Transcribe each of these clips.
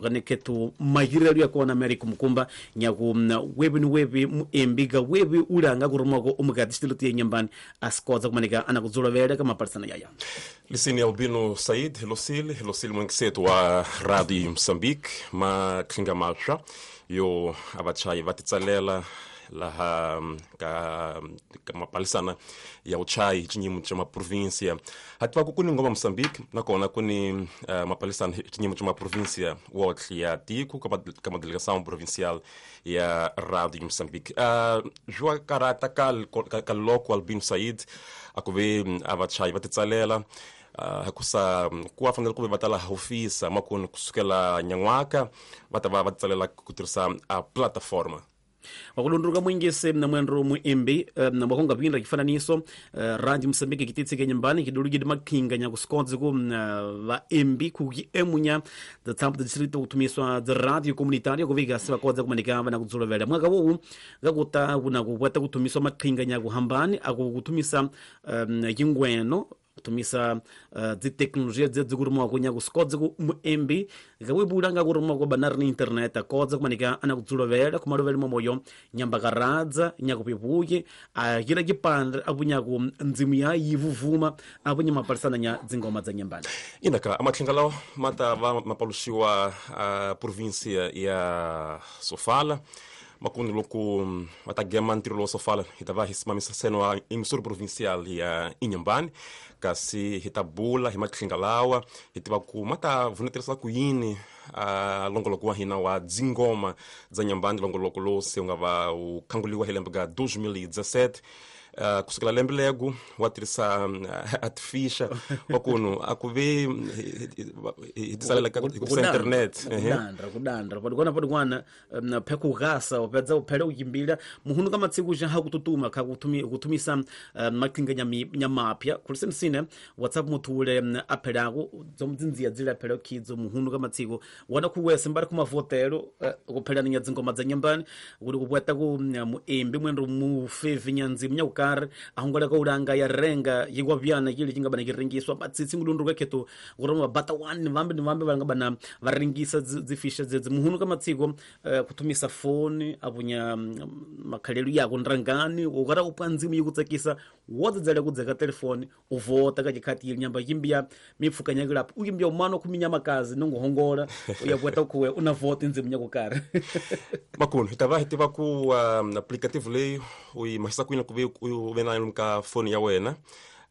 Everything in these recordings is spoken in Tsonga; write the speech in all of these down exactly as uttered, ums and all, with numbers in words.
Kaneketu mahirelo ya kona Amerika mukumba nyaku webi ni webi muembiga webi ulanga kurumako umukati ya nyambani asikoza kumanika anakudzula kama parsana yaya. Lisini Albino Said, Helocil, Helocil mwengisetu wa Radio Mozambique, ma klinga matsha yo abachayi vatitsalela laha ka ka mapalisana ya uchayi chinyimu cha maprovincia hativa ku kuni ngoma Mozambique nakona kuni uh, mapalisana chinyimu cha maprovincia wotlhe ya tiko ka delegação provincial ya Radio Mozambique. uh, jua karata kal ka loko Albino Said akuve abachayi vatitsalela Uh, hakusa kuwa fanele kuve vatala hofisa makuni kusukela nyan'waka va ta va va tsalela ku tirhisa a plataforma. Wakulundruka mwingise na mwendro muimbi na wakonga pinda kifananiso Radio Mozambique kititsike nyumbani kidulugidi makhinga nyakusikonze ku vaimbi kuki emunya the tamp the distrito kutumiswa the radio comunitaria kuvika sivakodza kumanika vana kudzulovela mwaka wowu ngakuta kuna kupweta kutumiswa makhinga nyakuhambani akukutumisa yingweno kutumisa uh, dziteknolojia dzedzikurumiwa kunya kusikodza ku muembi ngawibula ngakurumiwa kwa banari ni internet akodza kumanika anakudzulovela kumalovela momoyo nyambakaradza nyakupipuye akira kipande apunyaku ndzimu ya yivuvuma apunya mapalisana nya dzingoma dza nyambani. Inaka amatlinga lawa mata va mapaluxiwa a província ya Sofala makundi loko va ta gema ntirho lowo Sofala hi ta va hi simamisa seno wa emissora provincial ya Inhambane kasi hi ta bula hi matlinga lawa hi tiva ku ma ta vuneterisa ku yini a longoloko wa hina wa dzingoma dza Inhambane longoloko lowu se wu nga va wu khanguliwa hi lembe ka dois mil e dezessete. Uh, kusukela lembe lego wa tirhisa uh, artificial wa kunu a ku ve hi tisalela ka internet kudandra kudandra padikwana padikwana na pheko gasa wapedza uphele ukimbila muhunu kama tsiku ja hakututuma ka kutumi kutumisa makhinga nyami nyamapya kulise msine WhatsApp muthule aphelako dzomdzinzia dzila phele khidzo muhunu kama tsiku wana kuwese mbali kumavotelo kuphelana nya dzingoma dza nyambani kuti kupweta ku muembi mwendo mufevi nyanzi mnya ahungala ka ulanga ya renga yikwavyana kile chingabana kiringiswa matsitsi ngulunduka kheto kuroma bata one vambe ni vambe vanga bana varingisa dzifisha dzedzi muhunu ka matsiko uh, kutumisa foni apunya makhalelo yako ndrangani ukara upwa ndzimu yikutsakisa wodzedzela kudzeka telefoni uvota ka chikhati ili nyamba yimbiya mipfuka nyakilapo ukimbiya umano kuminya makazi nongohongola uyapweta kuwe unavota ndzimu nyakukari. Makunu hi ta va hi tiva ku um, aplicativo leyi u yi mahisa ku yini ku ve u ve na ka foni ya wena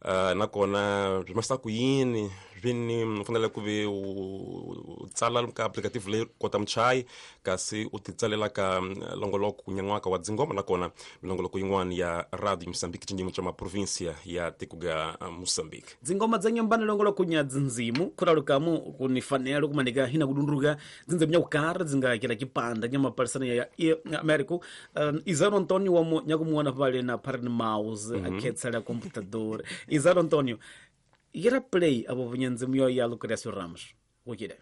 uh, nakona byi mahisa ku yini vini u fanele ku ve u tsala ka applicative leyi kota muchayi kasi u ti tsalela ka longoloko nyan'waka wa dzingoma nakona milongoloko yin'wana ya Radio Mozambique cinyimu cha maprovincia ya tiko ga Mozambique. Dzingoma dza nyambani longoloko nya dzindzimu khuralukamu kunifanelo kumanika hina kudunduka dzindzimu nyakukara dzingakela kipanda nyamapalisana ya America. um, Izaro Antonio wamo nyakumuona pale na parent mouse mm -hmm. akhetsela computador. Izaro Antonio yera play abo vunyanzimu yo ya Lucrecio Ramos. Ukire.